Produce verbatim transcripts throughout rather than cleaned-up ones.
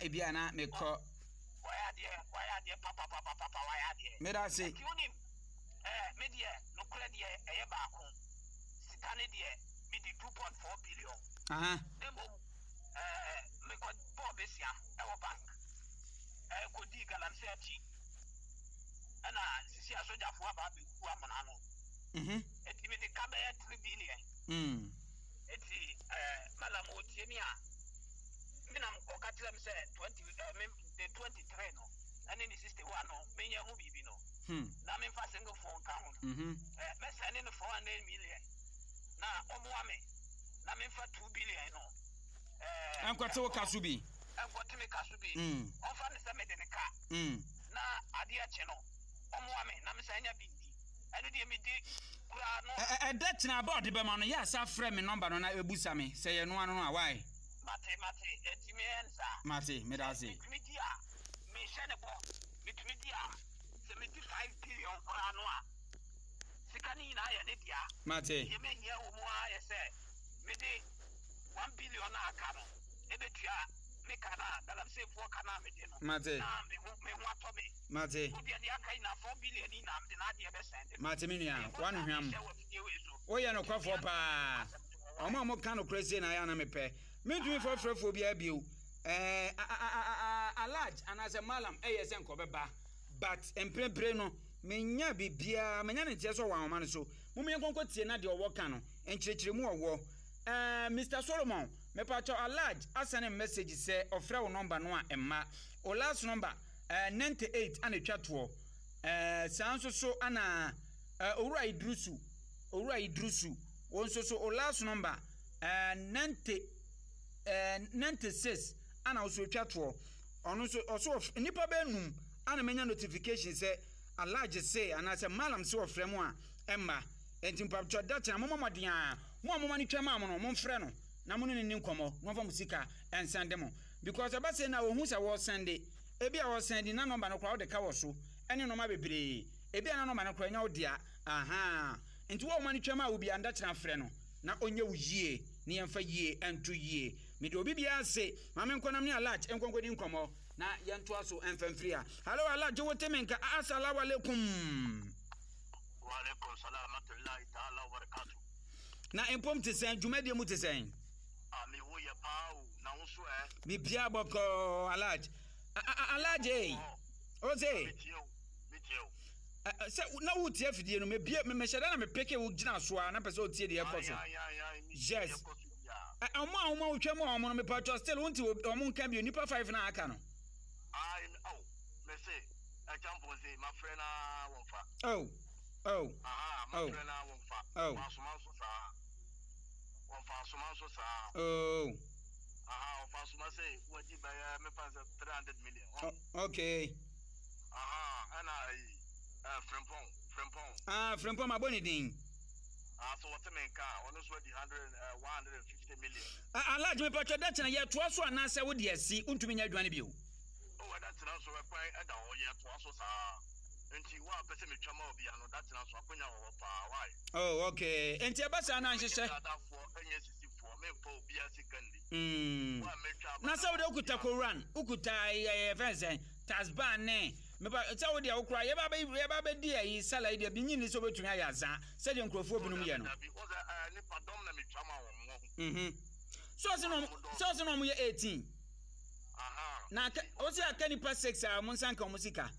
ebi a na mekɔ. Wayɛ adeɛ, wayɛ adeɛ papapapapa, wayɛ adeɛ. Meda ase. Nti wonim, ɛɛ, me deɛ, nokorɛ deɛ ɛyɛ baako. Sika ne deɛ, mede two point four billion. Aha. Na mmom, ɛɛ, mekɔ bɔɔ besia ɛwɔ bank. Ɛɛ, kɔdii galamsey akyi. Ɛna sisi asogyafoɔ aba abɛgu amena no. Mhm. Eti mede ka bɛyɛ three billion. Mm. Eti ɛɛ, malam otie mi a, me nam ɔka kyerɛ me sɛ twenty ɛɛ me de twenty three no ɛne ne sixty one no menyɛ ho biribi no. Hmm. Na memfa single phone ka ho no. Mhm. Ɛɛ, mɛsɛne no four hundred million na ɔmoa me na memfa two billion no. Ɛɛ, Ɛnkɔte wo ka so bi. Ɛnkɔte me ka so bi. Mm. Ɔmfa ne sɛ mede ne ka. Mm. Na adeɛ kye no, ɔmoa me na mesan nya bi ndi. Ɛno deɛ medi koraa no. Ɛ- ɛ- ɛda kyena aba a ɔde bɛma no yɛ asa frɛ me nɔmba no na ɛbusa me sɛ yɛ noa no no a wae. Mate, mate, eti meyɛ no saa. Mate, meda ase. Metumi di a, mehyɛ ne bɔ. Metumi di a, sɛ medi five billion koraa no a, sika no nyinaa yɛ ne dea. Mate. Deɛ mehia wɔ mu ara yɛ sɛ mede one billion a aka no ɛbɛtua me ka no a galamseyfoɔ ka no a mede no. Mate. Na me ho me ho atɔ me. Mate. Wo deɛ deɛ aka nyinaa four billion yi nyinaa mede n'adeɛ bɛsɛn de. Mate me nua, wano hwam. Hyɛ wɔ fidie wei so. Woyɛ nokwafoɔ paa. Ɔmo a moka nokorɛ sie na ayɛ ana mepɛ. Mentumi mfa frɛfoɔ biara bio. Ɛɛ, Alhaj anaasɛ Malam ɛyɛ sɛ nkɔbɛba. But mprempren no, menya biribiara, menya ne nteɛ sɛ ɔwɔ ahoma no so. Mom yɛnkɔnkɔ tie na deɛ ɔwɔ ka no, nkyerɛkyerɛmu ɔwɔ. Ɛɛ, Mister Solomon, mepakyɛw Alhaj asɛne message sɛ ɔfrɛ wo nɔmba no a ɛmma. O last number, ɛɛ, ninety eight ana etwa toɔ. Ɛɛ, saa nso so ana ɛɛ, Owura Idrusu, Owura Idrusu, wo nso so o last number, ɛɛ, ninety, ɛɛ, ninety six ana wo so etwa toɔ. Ɔno nso ɔso ɔf nipa bɛyɛ num ana menya notification sɛ Alhaji se anaasɛ Malam se ɔfrɛ mu a ɛmma. Enti mpatwɔ da kyena momma mmɔden a mo a moma no twa maa mo no momfrɛ no na mo ne no ni nkɔmmɔ na ɔmfa mo sika ɛnsɛnde mo, because ɛba sɛ na ohu sɛ wɔsɛnde ebi a wɔsɛnde na nɔmba no koraa wode ka wɔ so ɛne nɔɔma bebree ebi a na nɔmba no koraa ɛnyɛ wo dea. Aha, nti wo a woma no twa maa wo bia nda kyena frɛ no na ɔnyɛ wo yie na yɛmfa yie ɛnto yie. Mede obi biara se ma me nkɔnam ne Alhaji nkɔnkɔdi nkɔmmɔ na yɛntoa so ɛmfa mfiri a. Hello Alhaji, wote me nka? Assalamu alaikum. Wa alaikum salam rahmatullahi ta'ala wa barakatuh. Na mpom te sɛn, dwumadie mu te sɛn? Ah, me wo yɛ paa o, na wo so ɛ? Bibia bɔkɔɔ Alhaji. Alhaji ei, o se. Me tie o, me tie o. Sɛ na wo tie afidie no, mebie mehyɛ da na mepeke wo gyina so a na pɛ sɛ o tie deɛ ɛkɔ so. Yes. Ɔmo a ɔmo a wotwa mu a ɔmo no mepatwɔ still wonti ɔmo nka bio nipa five na aka no. Ayi, oh, me se ɛkya mpɔnse ma frɛ na wɔn fa. Oh, oh. Aha, ma frɛ na wɔn fa. Oh. Wɔn asoma nso saa. Wɔn fa asoma nso saa. Oh. Aha, wɔn fa asoma sɛ wɔdi bɛyɛ mefa sɛ three hundred million. Oh, okay. Aha, ɛna ayi, ɛɛ Frimpong, Frimpong. Ah, Frimpong ma bɔ ne din. Ah, so wɔte me nka, ɔno nso adi hundred, uh, one hundred and fifty million. Ah, Alhaji mepatwɔ da kyena yɛtoa so anaasɛ wode asi wontumi nyɛ adwuma no bio? Oh, ɛda kyena nso ɛkwan ɛda hɔ yɛtoa so saa. Nti wo a pɛ sɛ metwa ma obi ano da kyena nso akonya wɔ hɔ paa, why? Oh, okay. Nti ɛba saa na nhyehyɛ. Menyɛ dadafoɔ, ɛnyɛ sisifoɔ, memfa obiara sika nni. Mm. Wo a metwa Na sɛ wode wokuta Koran, wokuta ɛyɛ fɛn sɛn, tasban ne mepa sɛ wode a wokora yɛba bɛ yɛba bɛdi ayi sala yi deɛ bi nyini sɛ wobɛtumi ayɛ azaa sɛdeɛ nkurɔfoɔ binom yɛ no. Dabi, wo sɛ ɛɛ nipa dɔm na metwa ma wɔn wɔ. Mhm. So ɔse na ɔmo sɛ ɔse na ɔmo yɛ eighteen. Aha. Na aka ɔse aka nipa six a ɔmo nsa nka ɔmo sika.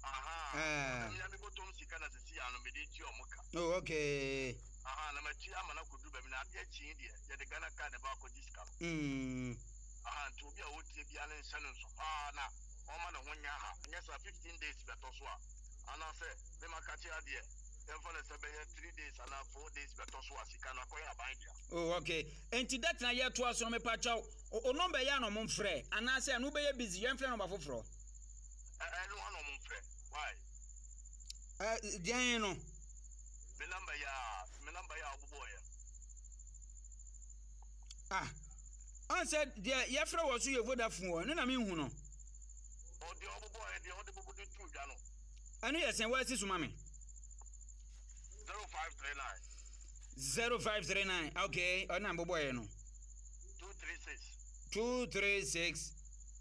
Aha. Ah. Ɔsɛ mi bɔtɔm sika na sisi ano mede tua ɔmo ka. Oh, okay. Aha, na matua ama na kodu baabi na adeɛ kyen deɛ yɛde Ghana card na ɛba akɔgye sika no. Mm. Aha, nti obi a ɔtie biara ne nhyɛ no nso paa na ɔma ne ho nyɛ ha. Nyɛ saa fifteen days bɛtɔ so a anaasɛ mema ka kyerɛ adeɛ yɛmfa no sɛ bɛyɛ three days anaa four days bɛtɔ so a sika no akɔyɛ aban dea. Oh, okay. Enti datena yɛtoa so no mepa kyɛw. O nɔmba yi a na ɔmo mfrɛ anaasɛ ɛno wobɛyɛ busy yɛmfrɛ nɔmba foforɔ. Ɛno ano ɔmo mfrɛ. Why? Ɛ deɛn no? Me nɔmba yi a me nɔmba yi a ɔbobɔɔ yɛ. Ah, ɔn sɛ deɛ yɛfrɛ wɔ so yɛ Vodafone wɔ ɛno na menhu no. Ɔdeɛ ɔbobɔɔ yɛ deɛ ɔde bobo de tu dwa no. Ɛno yɛ sɛn wɔasi so ma me? Zero five three nine. Zero five three nine. Okay, ɔno na mbobɔɔ yɛ no. Two three six. Two three six.